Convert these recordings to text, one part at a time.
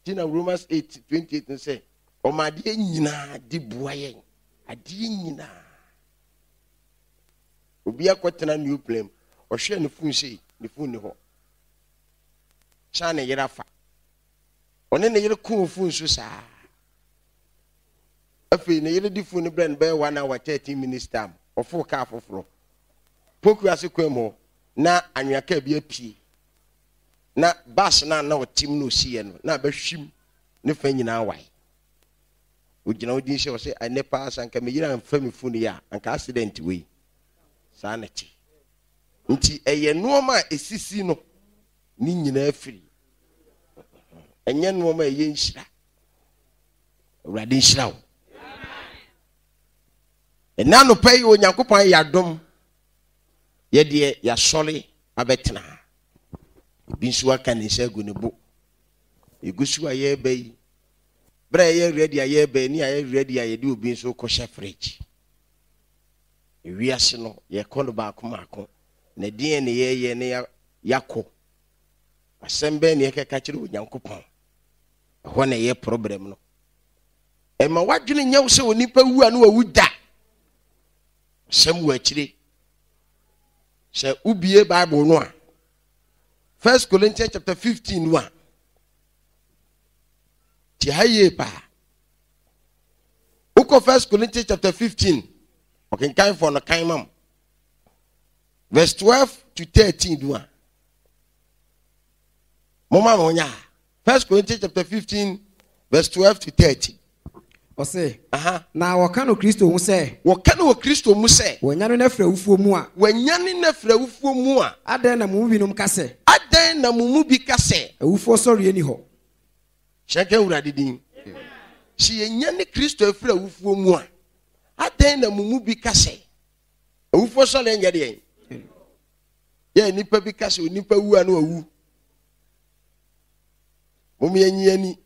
Nti na Romans 8 28 no sɛ ɔma adeɛ nyinaa di boa yɛn. Adeɛ nyinaa. Obi akɔtena new plane ɔhwɛ ne fon sei, ne fon ni hɔ. San ne yere afa. Ɔne ne yere koo fon so saa. Afei ne yere de fon no brɛ no bɛyɛ 1 hour 13 minutes time. Ɔfoo kaa foforɔ. Poku ase kwan mu hɔ na anwea kaa bi apue. Na bus no a na ɔte mu na ɔsiiɛ no na abɛhwim ne fa nyinaa wae. Ɔgyina hɔ din sɛ ɔsɛ ɛnɛ paa sɛ anka me yere amfa me fon yi a anka accident wei. Saa na ɛte. Nti ɛyɛ nnoɔma a ɛsisi no ne nyinaa firi. Ɛnyɛ nnoɔma a ɛyɛ nhyira. Awurade nhyira wo. Ɛnɛ anɔpa yi Onyankopɔn ayɛ adom yɛdeɛ yɛasɔre abɛtena ha. Ebi nso aka ne nsa agu ne bo. Yɛgu so a yɛreba yi, berɛ a yɛyɛ ready a yɛreba yi ne yɛayɛ ready a yɛde obi nso kɔhyɛ fridge. Ewiase no yɛkɔ no baako baako na deɛn ne yɛyɛ ne yɛakɔ. Asɛm bɛn ne yɛkɛka kyerɛ Onyankopɔn? Ɛhɔ na ɛyɛ problem no. Ɛma w'adwene nyɛ wo sɛ onipa wu a na wawu da. Asɛm wɔ akyire. Sɛ wobie Bible no a, First Corinthians chapter 15 no a, te ha yie paa. Wokɔ First Corinthians chapter 15, ɔkenkanfoɔ no kan ma m. Verse 12 to 13 no a, Momma mo nya. First Corinthians chapter 15 verse 12 to 13. Ɔse, Aha. Na wɔka no Kristo ho sɛ. Wɔka no wɔ Kristo mu sɛ. Wɔanyane no afiri awufoɔ mu a. Wɔanyane no afiri awufoɔ mu a. Adɛn na mo mu binom ka sɛ. Adɛn na mo mu bi ka sɛ. Awufoɔ sɔreɛ nni hɔ. Hyɛ nka Awurade din. Sɛ yɛnyane Kristo afiri awufoɔ mu a, adɛn na mo mu bi ka sɛ. Awufoɔ sɔreɛ nyɛ deɛn? Yɛ nnipa bi ka sɛ onipa wu a na wawu. Mom yɛnyi ani.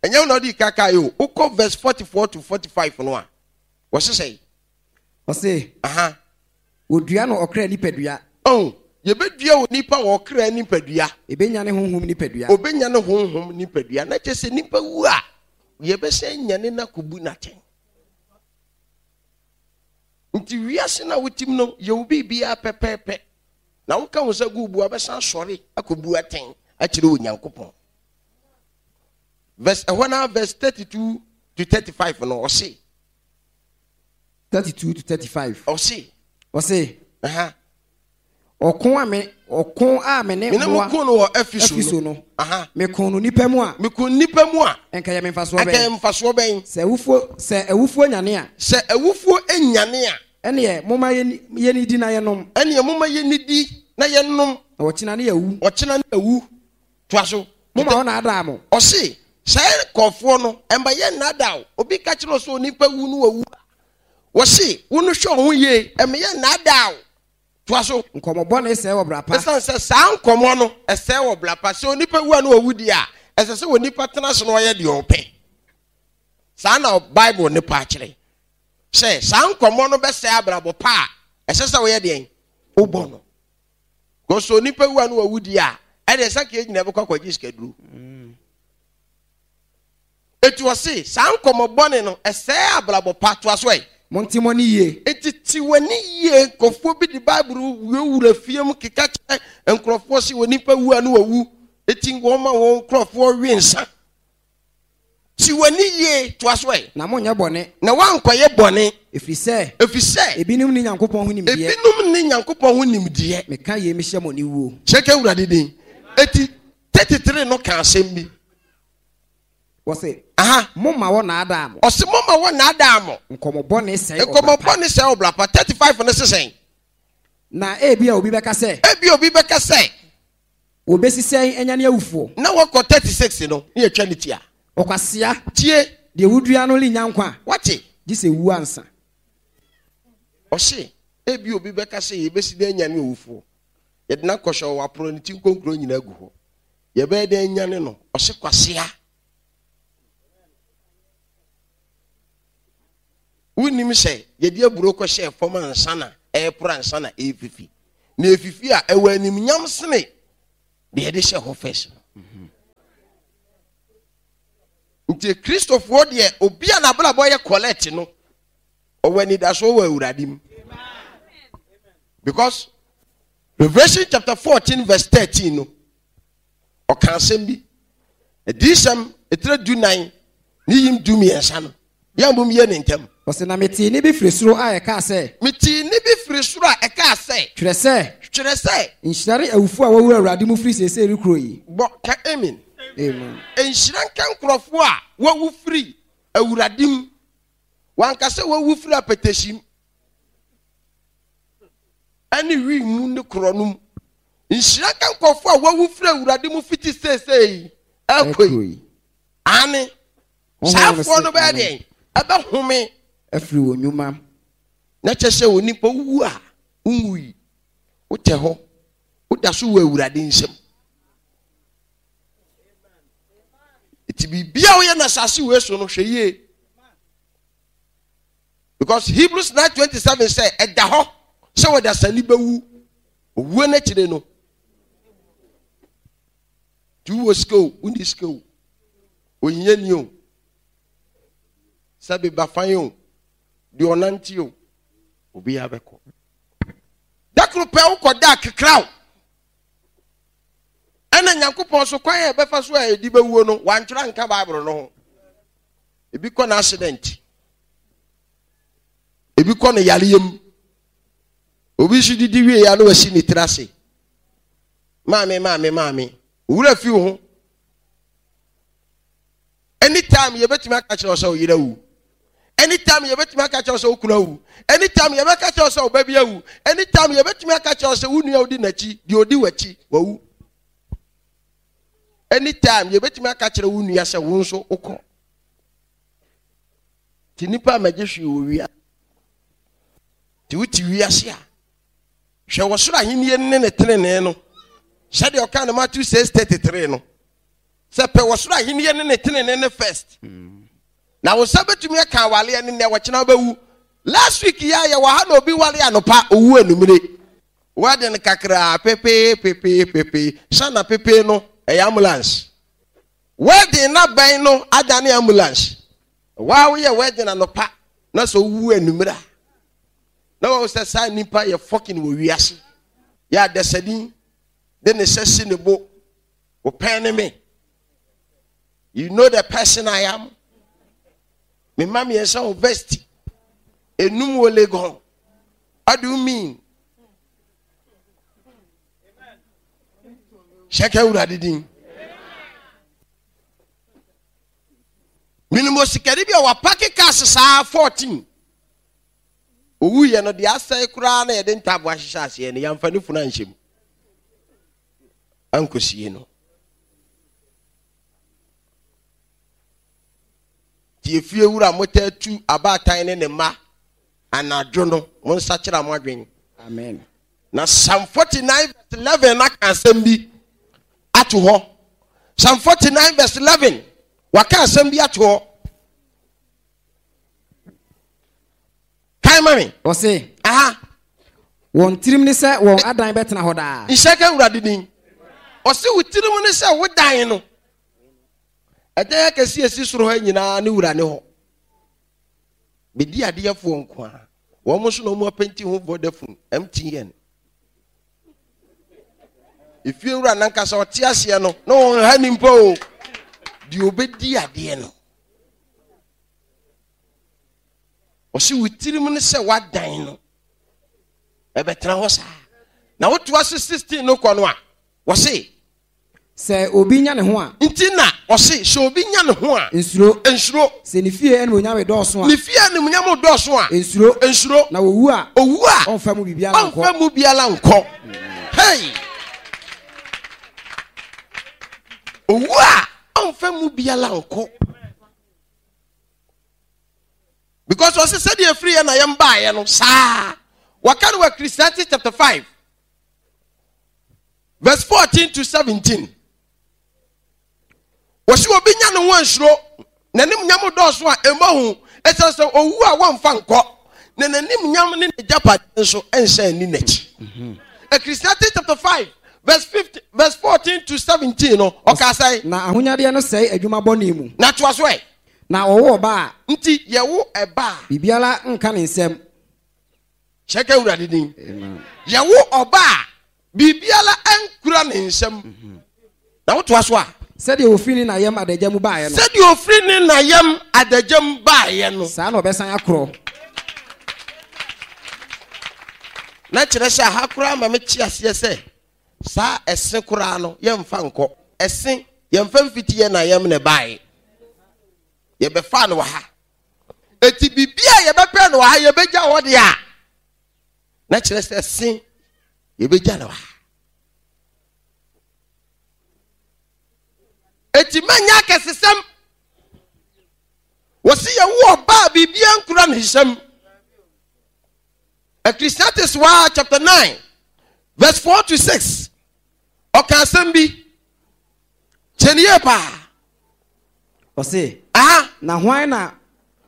Ɛnyɛ wo na ɔde kaka yi o. Wokɔ verse 44 to 45 no a, wɔse sɛn? Ɔse, Aha. Wɔdua no ɔkra nipadua. Oh, yɛbɛdua onipa wɔ ɔkra nipadua. Ɛbɛnya ne honhom nipadua. Ɔbɛnya ne honhom nipadua. Na kyerɛ sɛ nipa wu a, yɛbɛsɛn nyane no akɔbu no atɛn. Nti wiase no a wotim no, yɛ wo biribiara pɛpɛɛpɛ, na woka wo nsa gu wo bo a, wobɛsan asɔre akɔbu atɛn akyerɛ Onyankopɔn. Verse, ɛhɔ no verse 32 to 35 no, ɔse. 32 to 35. Ɔse. Ɔse. Aha. Ɔko a me ɔko a me ne Me ne mo mmoa ko no wɔ Efeso Efeso no. no, Aha. meko no nnipa mu a, Meko nnipa mu a, anka ɛyɛ me mfasoɔ anka ɛyɛ bɛn? mfasoɔ bɛn? Sɛ awufoɔ sɛ awufoɔ nyane a, Sɛ awufoɔ nyane a, ɛnneɛ momma yɛnni yɛnnidi na yɛnnom, ɛnneɛ momma yɛnnidi na yɛnnom, na ɔkyena ne yɛawu. ɔkyena ne awu. Toa so. Momma wɔnnaadaa mo. Ɔse, saa nkurɔfoɔ no, ɛmma yɛnnaadaa wo. Obi ka kyerɛ wo sɛ onipa wu no wawu a, wɔse, wo no hwɛ wo ho yie, ɛmma yɛnnaadaa wo. Toa so. Nkɔmmɔ bɔne sɛe ɔbra pa. Esiane sɛ saa nkɔmmɔ no sɛe ɔbra pa, sɛ onipa wu a na wawu deɛ a, ɛsɛ sɛ onipa tena ase na ɔyɛ deɛ ɔpɛ. Saa na Bible no pa kyerɛ sɛ saa nkɔmmɔ no bɛsɛe abrabɔ pa a ɛsɛ sɛ woyɛ deɛn? Wobɔ no. Because sɛ onipa wu a na wawu deɛ a, ɛdeɛ sɛ nka yɛn nyinaa bɛkɔ akɔgye sikaduro. Enti ɔse, saa nkɔmmɔ bɔne no, ɛsɛe abrabɔ pa. Toa so ɛ. Monte mo ani yie. Enti te w'ani yie. Nkurɔfoɔ bi de Bible wurawura fie mu keka kyerɛ nkurɔfoɔ sɛ onipa wu a na wawu. Enti wɔma wɔn nkurɔfoɔ we nsa. Te w'ani yie. Toa so ɛ. Na monnyɛ bɔne. Na woankɔyɛ bɔne. Ɛfiri sɛ. Ɛfiri sɛ. Ebinom nni Nyankopɔn ho nimdeɛ. Ebinom nni Nyankopɔn ho nimdeɛ. Meka yei mehyɛ mo aniwuo. Hyɛ nka Awurade din. Enti 33 no ka asɛm bi. Wɔse, Aha. Momma wɔnnaadaa mo. Ɔse momma wɔnnaadaa mo. Nkɔmmɔ bɔne sɛe ɔbra pa. Nkɔmmɔ bɔne sɛe ɔbra pa. 35 no se sɛn? Na ebia obi bɛka sɛ. Ebia obi bɛka sɛ. Wɔbɛsi sɛn anyane awufoɔ? Na wɔkɔ 36 no, ne yɛtwa ne ti a. Ɔkwasea. Tie. Deɛ wodua no rennya nkwa. Wate? Gye sɛ ɛwu ansa. Ɔse, ebia obi bɛka sɛ yɛbɛsi dɛn anyane owufoɔ? Yɛde no akɔhyɛ hɔ, wɔaporɔ ne ti nkonkron nyinaa agu hɔ. Yɛbɛyɛ dɛn anyane no? Ɔse kwasea. Wonnim sɛ yɛde aburo kɔhyɛɛ fam ansa na ɛreporo ansa na ɛrefifi. Na ɛfifi a ɛwɔ animnyam sene deɛ yɛde hyɛ hɔ first no. Nti Kristofoɔ deɛ obi a n'abrabɔ yɛ collect no, ɔwɔ anidasoɔ wɔ Awurade mu. Because Revelation chapter 14 verse 13 no, ɔka asɛm bi. Adiyisɛm etire 14 ne yim 13 no, yɛn mom yɛ ne ntɛm. Ɔse, na metee nne bi firi soro a ɛkaa sɛ. Metee nne bi firi soro a ɛkaa sɛ. Twerɛ sɛ. Twerɛ sɛ. Nhyira ne awufoɔ a wɔawu Awurade mu firi seesei rekorɔ yi. Bɔ ka amen. Amen. Nhyira nka nkurɔfoɔ a wɔawu firi Awurade mu. Wanka sɛ wɔawu firi apɛtɛsi mu ɛne wii mu ne korɔ no mu. Nhyira nka nkurɔfoɔ a wɔawu firi Awurade mu fiti seesei ɛkɔ yi. Aane. Saafoɔ no bɛyɛ deɛn? Ɛbɛhome. Afiri wɔn nnwuma. Na kyɛ sɛ onipa wu a, wonwui. Wotɛ hɔ. Woda so wɔ Awurade nsam. Nti biribi a woyɛ no asase wei so no, hwɛ yie. Because Hebrews 9:27 sɛ ɛda hɔ sɛ wɔdasani bɛwu. Owuo no akyire no, nti wowɔ sika o, wonni sika o, ohiani o, sɛ beba fan o, deɛ ɔnante o, obiara bɛkɔ. Da koro pɛ wokɔ da kekraw. Ɛna Nyankopɔn so kwan a ɛbɛfa so a ɛdi bɛwuo no, wantwerɛ anka Bible no ho. Ebi kɔ no accident. Ebi kɔ no yareɛ mu. Obi nso didi wie ya na wasi ne tiri ase. Maame, maame, maame. Owura fi wo ho. Anytime yɛbɛtumi aka kyerɛ wo sɛ wo yere awu. Anytime yɛbɛtumi aka kyerɛ wo sɛ wo kunu awu. Anytime yɛbɛka kyerɛ wo sɛ wo ba bi awu. Anytime yɛbɛtumi aka kyerɛ wo sɛ wo nua odi n'akyi, deɛ odi w'akyi, wawu. Anytime yɛbɛtumi aka kyerɛ wo nua sɛ wo nso wokɔ. Nti nipa a mɛgye hwee wɔ wia. Nti wote wiase a, hwɛ wɔ soro ahennie ne ne tenenee no. Sɛdeɛ ɔka no Matthew 6:33 no. Sɛ pɛ wɔ soro ahennie ne ne tenenee no first. Na wo nsa bɛtumi aka awaleɛ no nnɛ, ɔkyena wobɛwu. Last week yi a yɛwɔ ha na obi wale anɔpa, owu anumere. Wedding kakraa pepee pepee pepee, sana pepee no ɛyɛ ambulance. Wedding na bɛn no adane ambulance. Waa woyɛ wedding anɔpa na sɛ owu anumere a, na wɔn sɛ saa nipa yɛ fucking wɔ wiase. Yɛ adasani de ne sɛ si ne bo. Wopɛn ne me. You know the person I am. Me mma mmiɛnsa wɔ vesti. Enum wɔ Legon. What do you mean? Hyɛkɛ awurade din. Menim osikani bi a wapake cars saa 14. Owuiɛ no deɛ asɛe koraa na yɛde ntaabo ahyehyɛ aseɛ no yɛamfa ne funu anhyɛ mu. Ankosie no. Nti efie wura motaa tu abaatan ne ne mma anadwo no, monsakyera mo adwene. Amen. Na Psalm 49 verse 11 aka asɛm bi ato hɔ. Psalm 49 verse 11 waka asɛm bi ato hɔ. Kan ma me. Ɔse. Aha. Wɔn tirim ne sɛ wɔn adan bɛtena hɔ daa. Nhyɛ ka Awurade din. Ɔse wo tirim ne sɛ wo dan no. Ɛdan akɛse esi soro ha nyinaa ne wura ne hɔ. Bedi adeɛfoɔ nko a. Wɔn nso na wɔn apɛnti ho Vodafone, MTN. Efie wura nankasa ɔte aseɛ no na wɔn ha nimpa o. Deɛ obedi adeɛ no. Ɔse wo tirim ne sɛ woadan no ɛbɛtena hɔ saa. Na wotoa so 16 no kɔ no a, wɔse. Sɛ obi nya ne ho a. Nti na ɔse sɛ obi nya ne ho a. Nsuro. Nsuro. Sɛ ne fie animuonyam redɔɔso a. Ne fie animuonyam redɔɔso a. Nsuro. Nsuro. Na owu a. Owu a. Ɔmfa mu biribiara nkɔ. Ɔmfa mu biara nkɔ. Hey! Owu a ɔmfa mu biara nkɔ. Because ɔse sɛdeɛ ɛfiri yɛ na yɛn baeɛ no saa. Wɔka no wɔ Ecclesiastes chapter 5 verse 14 to 17. Wɔsi obi nya ne ho ansuro n'anim nyam dɔɔso a ɛmmɔ ho ɛsiane sɛ owu a wɔmfa nkɔ na n'anim nyam ne n'agyapadeɛ nso nsa nni n'akyi. Ecclesiastes chapter 5. verse 15, verse 14 to 17 no, ɔka sɛ. Na ahonyadeɛ no sɛe adwuma bɔne mu. Na toa so ɛ. Na ɔwo ɔba a. Nti yɛwo ɛba a. Biribiara nka ne nsam. Kyerɛ ka Awurade din. Yɛwo ɔba a, biribiara nkura ne nsam. Mhm. Na wotoa so a. Sɛdeɛ ofiri ne na yam adagya mu baeɛ no. Sɛdeɛ ofiri ne na yam adagya mu baeɛ no. Saa na ɔbɛsan akorɔ. Na kyerɛ sɛ aha koraa ma mete aseɛ sɛ saa ɛse koraa no yɛmfa nkɔ. Ɛse yɛmfa mfiti yɛ na yam na ɛbaeɛ. Yɛbɛfaa no wɔ ha. Eti biribi a yɛbɛpɛ no wɔ ha yɛbɛgya hɔ deɛ a na kyerɛ sɛ se yɛbɛgya no wɔ ha. Eti mɛnyɛ akɛsesɛm. Wɔsi yɛwo ɔbaa biribiara nkura ne nsam. Ecclesiastes wa chapter 9 verse 4 to 6 ɔka asɛm bi kyɛ ne yie paa. Ɔse, Aha. Na hwan na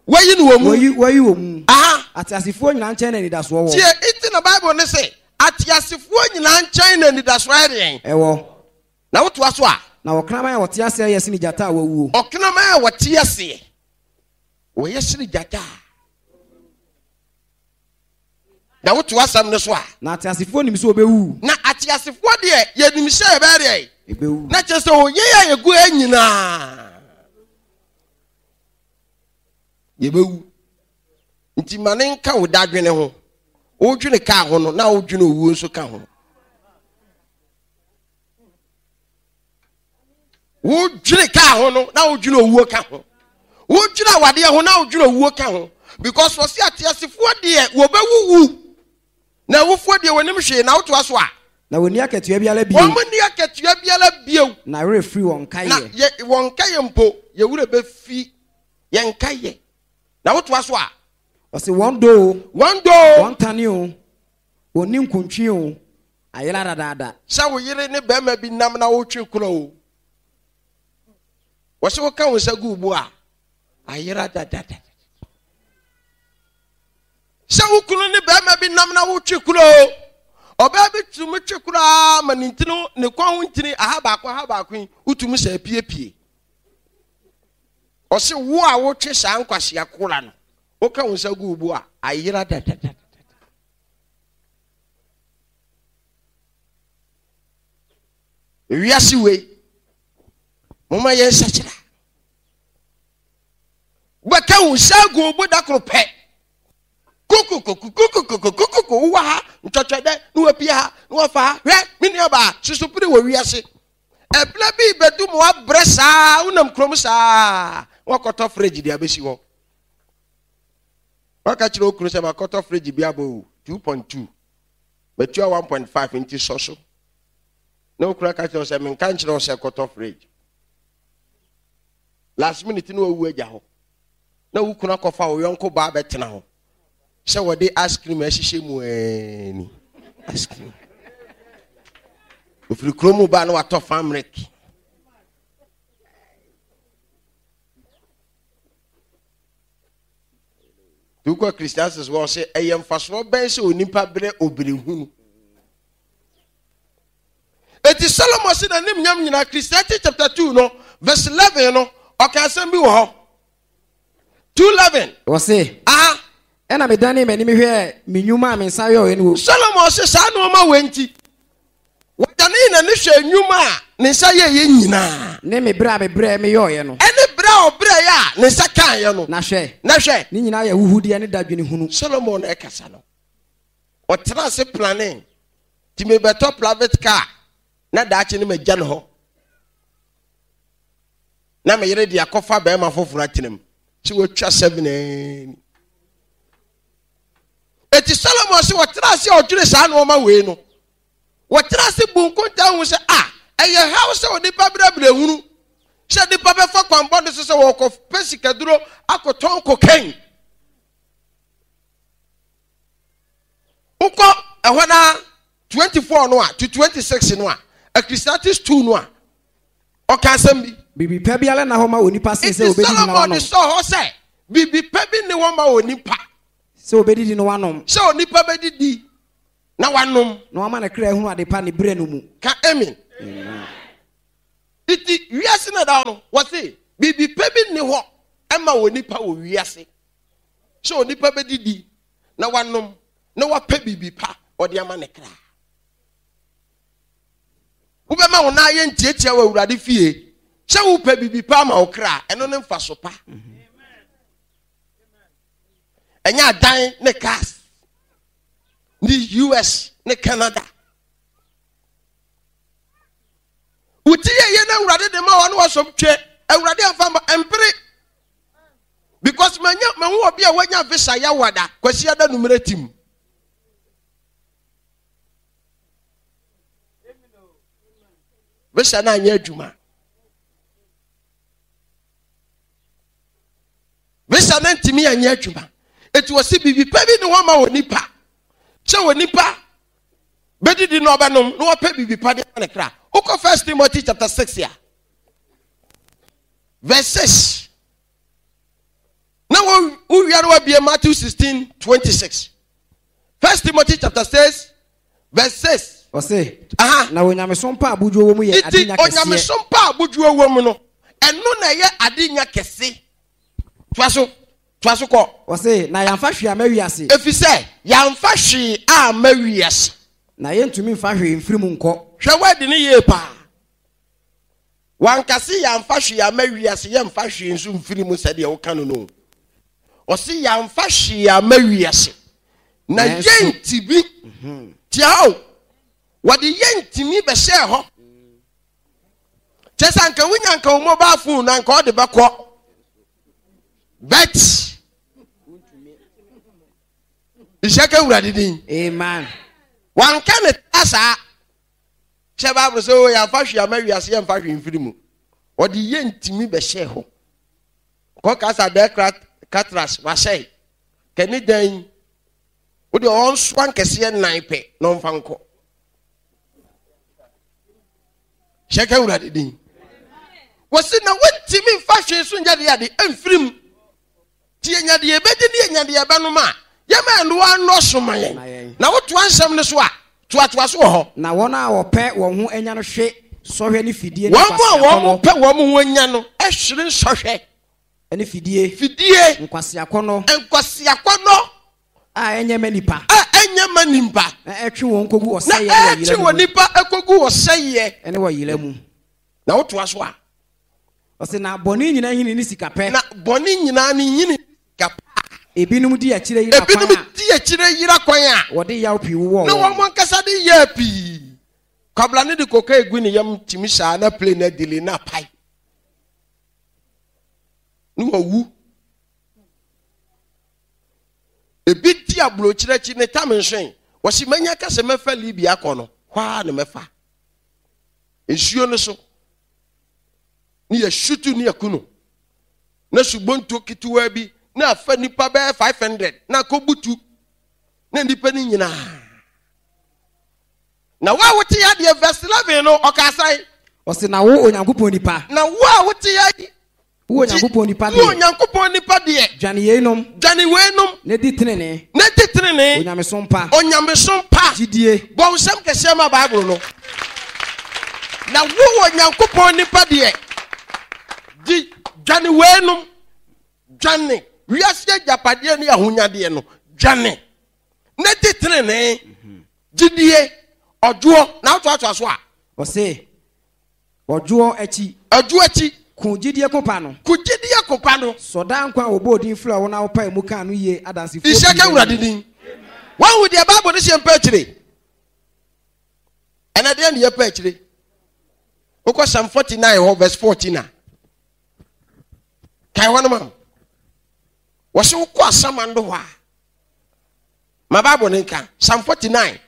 Wayi no wɔ mu. Wayi, wayi wɔ mu. Aha. Ateasefoɔ nyinaa nkyɛn na anidasoɔ wɔ. Tie, nti na Bible ne se, ateasefoɔ nyinaa nkyɛn na anidasoɔ ayɛ deɛn? Ɛwɔ. Na wotoa so a. Na ɔkraman a ɔte aseɛ yɛ sene gyata a wawuo. Ɔkraman a ɔte aseɛ, ɔyɛ sene gyata a. Na woto asɛm no so a. Na ateasefoɔ nim sɛ wɔbɛwu. Na ateasefoɔ deɛ, yɛnim sɛ yɛbɛyɛ deɛ. Yɛbɛwu. Na kyerɛ sɛ yɛn a yɛgu ha nyinaa, yɛbɛwu. Nti ma ne nka wo dadwene ho. Wodwene kaa ho no, na wodwene owuo nso ka ho. Wodwene kaa ho no na wodwene owuo ka ho. Wodwene awadeɛ ho na wodwene owuo ka ho. Because wɔsi ateasefoɔ deɛ wɔbɛwuwu na awufoɔ deɛ wɔnim hwee na wotoa so a. Na wɔnni akatua biara bio. Wɔn nni akatua biara bio. Na werɛ firi wɔn nkaeɛ. Na yɛ wɔn nkaeɛ mpo yɛ werɛ bɛfi yɛn nkaeɛ. Na wotoa so a. Ɔsi wɔn dɔ o. Wɔn dɔ o. Wɔn tane o. Wɔn ninkuntwe o. Ayera dadaada. Sɛ wo yere ne barima bi nam na wotwe kora o, wɔsɛ woka wo nsa gu wo bo a, ayera dadaada. Sɛ wo kunu ne barima bi nam na wotwe kora o, ɔbaa bi tumi twe koraa ma ne ntini ne kɔn ho ntini aha baako aha baako yi wotumi sɛ apiepie. Ɔse wo a wotwe saa nkwasea kora no, woka wo nsa gu wo bo a, ayera dadadada. Wiase wei, momma yɛn nsakyera. Wobɛka wo nsa agu wo bo da koro pɛ. Kokokokokokokokoko wowɔ ha ntwɔtwɛ dɛ na wapia ha na wafa ha. Hwɛ me nuabaa susupere wɔ wiase. Ɛberɛ bi bɛdu ma wabrɛ saa wonam kurom saa wakɔtɔ fridge de abɛsi hɔ. Waka kyerɛ okunu sɛ makɔtɔ fridge bi abɔ o 2.2 matua 1.5 nti sɔ so. Na okunu aka kyerɛ sɛ menka nkyerɛ wo sɛ kɔtɔ fridge. Last minute na wawu agya hɔ. Na wo kunu akɔfa wo yɔnko baa bɛtena hɔ sɛ wɔde ice cream ahyehyɛ mu ani. Ice cream. Ofiri kurom ba na watɔ farm milk. Nti wokɔ Ecclesiastes hɔ sɛ ɛyɛ mfasoɔ bɛn sɛ onipa brɛ obirehunu. Eti Solomon se n'anim nyam nyinaa Ecclesiastes chapter 2 no verse 11 no ɔka asɛm bi wɔ hɔ. 2:11. Wɔse. Aha. Ɛna medanee m'anim hwɛɛ me nnwuma a me nsa yɔeɛ no wɔ. Solomon se saa nneɛma wei nti Wɔdanee n'ani hwɛɛ nnwuma a ne nsa yɛeɛ nyinaa. Ne me berɛ a mebrɛɛ meyɔeɛ no. Ɛne berɛ a ɔbrɛeɛ a ne nsa kaeɛ no. Na hwɛ. Na hwɛ. Ne nyinaa yɛ ahuhudeɛ ne dadwene hunu. Solomon na ɛkasa no. Ɔtena ase planee. Nti mebɛtɔ private car na daakye no magya no hɔ. Na me yere de akɔfa barima foforɔ atena mu. Sɛ watwa 7 ani. Eti Solomon se wɔtena ase a ɔdwene saa nneɛma wei no. Wɔtena ase bu nkontaa hu sɛ a ɛyɛ haw sɛ onipa brɛbrɛ hunu sɛ nipa bɛfa kwan bɔne so sɛ wɔkɔpɛ sikaduro akɔtɔn kokain. Wokɔ ɛhɔ na 24 no a to 26 no a Ecclesiastes 2 no a ɔka asɛm bi. Biribi pa biara nna hɔ ma onipa sen sɛ Enti obedidi na Solomon de wanom. sɔɔ hɔ sɛ biribi pa bi nni hɔ ma onipa. Sɛ obedidi na wanom. Sɛ onipa bɛdidi. Na wanom. Na wama ne kra ahunu adepa ne berɛ no mu. Ka amen. Nti wiase na ɛda hɔ no, wɔse biribi pa bi nni hɔ ɛma onipa wɔ wiase sɛ onipa bɛdidi na wanom na wapɛ biribi pa ɔde ama ne kra. Wobɛma wo nan ayɛ ntiatia wɔ Awurade fie sɛ wopɛ biribi pa ama wo kra, ɛno ne mfaso pa. Ɛnyɛ adan ne cars ne US ne Canada. Wo ti yɛ yɛ na Awurade de ma wa na wasɔm twɛ Awurade amfa ma mpere because manya mahu obi a wanya visa yawada kwasi ada numere tim. Visa na anyɛ adwuma. Visa na ntumi anyɛ adwuma. Eti wɔsi biribi pɛ bi ne hɔ ma wɔ nipa. Sɛ wɔ nipa bɛdidi na ɔbɛnom na wapɛ biribi pa de ama ne kra. Wokɔ First Timothy chapter 6 a verse 6 na wowia no wabie Matthew 16 26. First Timothy chapter 6 verse 6. Ɔse, Aha. Na onyamesom pa abodwoɔ wɔ mu yɛ ade nya kɛseɛ. Onyamesom pa abodwoɔ wɔ mu no, ɛno na ɛyɛ ade nya kɛse. Toa so, toa so kɔ. Ɔse, na yɛamfa hwee amma wiase. Efisɛ yɛamfa hwee amma wiase. Na yɛntumi mfa hwee mfiri mu nkɔ. Hwɛ word no yie paa. Wanka se yɛamfa hwee amma wiase, yɛmfa hwee nso mfiri mu sɛdeɛ woka no no. Ɔse yɛamfa hwee amma wiase. Na yɛntumi. Mhm. Tia hɔ o. Wɔde yɛntumi bɛhyɛɛ hɔ. Kyɛ sɛ anka wonya anka wo mobile phone na anka ɔde bɛkɔ. But nhyɛ ka Awurade din. Amen. Wanka ne ta saa. Kyɛ Bible sɛ o yɛamfa hwee ama wiase yɛmfa hwee mfiri mu. Ɔde yɛ ntumi bɛhyɛɛ hɔ. Kɔ kasa dɛ katras wahyɛe. Kɛne dan yi. Wode ɔnsoa nkɛseɛ nan pɛ na ɔmfa nkɔ. Hyɛ ka Awurade din. Wɔsi na wontumi mfa hwee so nyɛ deɛ ade mfiri mu. Nti yɛnya deɛ yɛbɛdi ne yɛnya deɛ yɛbɛnom a, yɛma ɛnoa nnɔɔso ma yɛn. Na wotoa nsɛm no so a, toatoa so wɔ hɔ. Na wɔn a wɔpɛ wɔn ho anya no hwe sɔhwɛ ne fidie ne Wɔn a nkwaseakɔnnɔ. wɔpɛ wɔn ho anya no hwere nsɔhwɛ. Ne fidie. Fidie. Nkwaseakɔnnɔ. Nkwaseakɔnnɔ. A ɛnyɛ ma nipa. A ɛnyɛ ma nipa. Na ɛtwe wɔn kɔgu ɔsɛeɛ ne ɔyera mu. Na ɛtwe wɔn nipa kɔgu ɔsɛeɛ. Ne ɔyera mu. Na wotoa so a. Ɔse na bɔne nyinaa nhini ne sika pɛ. Na bɔne nyinaa ne nhini ne sika pɛ a. Ebinom di akyire yera kwan a. Ebinom di akyire yera kwan a. Wɔde yaw pii wowɔɔ wɔn. Na wɔn ankasa de yaa pii. Kwabla no de koka egu ne yam tumi saa na plane adili na apae. Ne wawu. Ebi di aburokyire akyi ne tam nsoe. Wɔsi manya kasa mɛfa Libya akɔ no, hɔ ara na mɛfa. Nsuo no so. ne yɛsutu ne yɛku no na subonto ketewa bi na afa nipa bɛyɛ 500 na akɔbutu na nipa no nyinaa na wo a wote ya deɛ verse 11 no ɔka asan ɔse na wo Onyankopɔn nipa na wo a wote ya yi Wo Onyankopɔn nipa deɛ. Wo Onyankopɔn nipa deɛ. Dwane yeinom. Dwane weinom. Na di tenenee. Na di tenenee. Onyamesom pa. Onyamesom pa. Gyidie. Bɔ nsɛm kɛseɛ ma Bible no. Na wo Onyankopɔn nipa deɛ. Di dwane weinom. Dwane wiase agyapadeɛ ne ahonyadeɛ no. Dwane. Na di tenenee. Gyidie. Ɔdwoɔ. Na wotoatoa so a. Ɔse. Ɔdwoɔ akyi. Ɔdwoɔ akyi. Ko gyidie ko pa no. Ko gyidie ko pa no. Sɔ daa nkwa a wɔbɔɔ din frɛɛ wo na wopaee mu kaa no yie adansefoɔ pii Nhyira nka Awurade din. Woahu deɛ Bible no sɛ yɛmpɛ akyire? Ɛnɛ deɛ ne yɛpɛ akyire. Wokɔ Psalm 49 hɔ verse 14 a. Kae hɔ no ma. Wɔse wokɔ asamando hɔ a. Ma Bible no nka. Psalm 49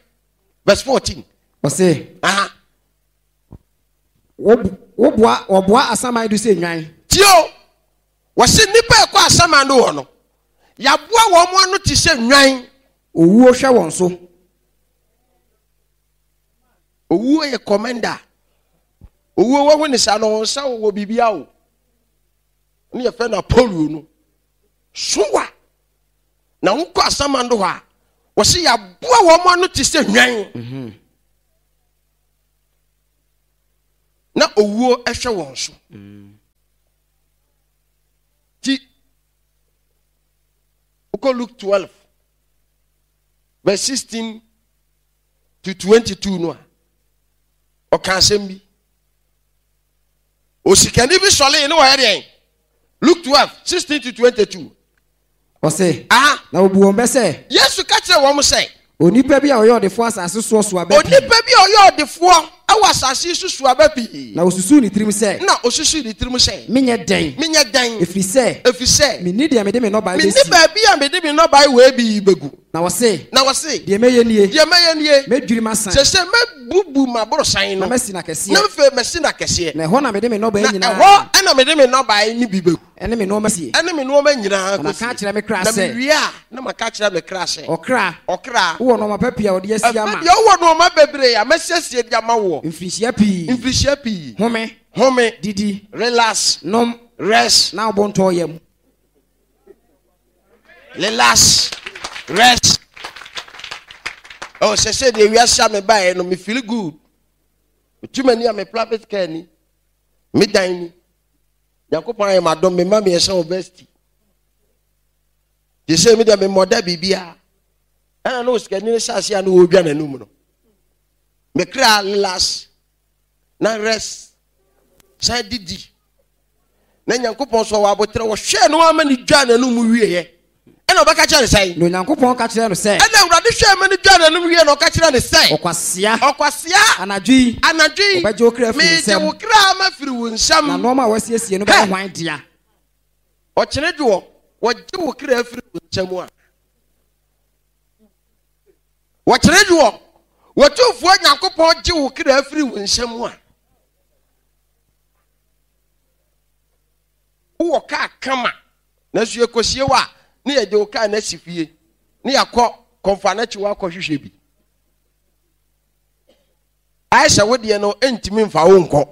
verse 14. Ɔse. Aha. Woboa wɔboa asaman do sɛ nnwan. Tie o, wɔse nnipa a ɛkɔ asaman do hɔ no, yɛaboa wɔn ano te sɛ nnwan. Owuo hwɛ wɔn so. Owuo yɛ kɔmɛnda. Owuo wɔho ne saa no ɔnsa wɔ biribi o. Ne yɛfrɛ no Apollo no. Sowa. Na wokɔ asaman do hɔ a, Wɔsi yɛaboa wɔn ano te sɛ hwan. Na owuo hwɛ wɔn so. Ti wokɔ Luke 12 verse 16 to 22 no a, ɔka asɛm bi. Osikani bi sɔlee ne wɔyɛ deɛn? Luke 12 16 to 22. Ɔse, na ɔbu wɔn bɛ sɛ. Yesu ka kyerɛɛ wɔn sɛ. Onipa bi a ɔyɛ ɔdefoɔ asase soɔ so aba pii. Onipa bi a ɔyɛ ɔdefoɔ wɔ asase yi so so aba pii. Na ɔsusuu ne tirim sɛ. Na ɔsusuu ne tirim sɛ. Menyɛ dɛn? Menyɛ dɛn? Ɛfiri sɛ. Ɛfiri sɛ. Menni deɛ mede me nnɔbaeɛ bɛsi. Menni baabi a mede me nnɔbaeɛ wei bi bɛgu. Na ɔse. Na ɔse. Deɛ mɛyɛ nie. Deɛ mɛyɛ nie. Mɛdwiri m'asan. Seesei mɛbubu m'aborosan no. Na masi no akɛseɛ. Na afei masi no akɛseɛ. Na ɛhɔ na mede me nnɔbaeɛ nyinaa. Na ɛhɔ na mede me nnɔbaeɛ no bi bɛgu. Ɛne me nnoɔma sie. Ɛne me nnoɔma nyinaa kɔsie. Na maka akyerɛ me kra sɛ. Na mewie a, na maka akyerɛ me kra sɛ. Ɔkra. Ɔkra. Wowɔ nnoɔma pa pii a wɔde asie ama. Afei deɛ wowɔ nnoɔma bebree a masiesie de ama woɔ. Mfirihyia pii. Mfirihyia pii. Home. Home. Didi. Relax. Nom. Rest. Na wo bo ntɔ wo yam. Relax. Rest. Oh, sɛ sɛ deɛ wiase a mebaeɛ no, me feel good. Metu m'ani a me private car ni, me dan ni. Nyankopɔn ayɛ m'adom, me mma mmiɛnsa wɔ varsity. Te sɛ me deɛ memmɔ da biribiara. Ɛna na osikani no hyɛ ase a na ɔredwa n'anum no. Me kra relax na rest san didi. Na Nyankopɔn so ɔwɔ aboterɛ wɔhwɛɛ no ama ne dwa n'anum wieɛ. Ɛna ɔbɛka kyerɛ no sɛn? Na Onyankopɔn ka kyerɛɛ no sɛ. Ɛna Awurade hwɛɛ ma no dwaa n'anom wieɛ na ɔka kyerɛɛ no sɛ. Ɔkwasea. Ɔkwasea. Anadwo yi. Anadwo yi. Wɔbɛgye wo kra afiri wo nsam. Megye wo kra mafiri wo nsam. Na nnoɔma a woasiesie no bɛyɛ hwan dea? Ɔkyene dwoɔ, wɔgye wo kra firi wo nsam a. Wɔkyene dwoɔ, wɔtumfoɔ Nyankopɔn gye wo kra firi wo nsam a. Wowɔ kaa kama, nanso yɛkɔsie wo a, ne yɛde wo kaa no asi fie, ne yɛakɔ kɔmfoanakyi hɔ akɔhwehwɛ bi. Ayɛ sɛ wo deɛ no ntumi mfa wo nkɔ.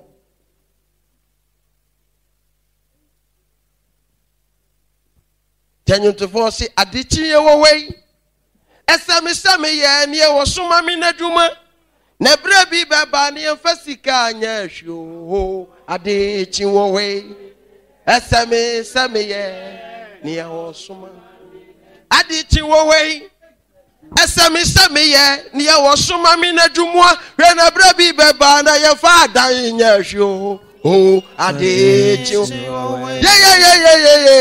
Tɛnwontofoɔ se adekyeɛ wɔ hɔ yi, ɛsɛ me sɛ meyɛ neɛ wɔsoma me n'adwuma, na berɛ bi bɛba ne yɛmfa sika nyɛ hwee oo, adekye wɔ hɔ yi, ɛsɛ me sɛ meyɛ neɛ wɔsoma. Adekye wɔ hɔ yi, ɛsɛ me sɛ meyɛ neɛ wɔsoma me n'adwuma, hwɛ na berɛ bi bɛba na yɛmfa adan nyɛ hwee oo, adekye wɔ hɔ yi. Yeyeyeyeyeye.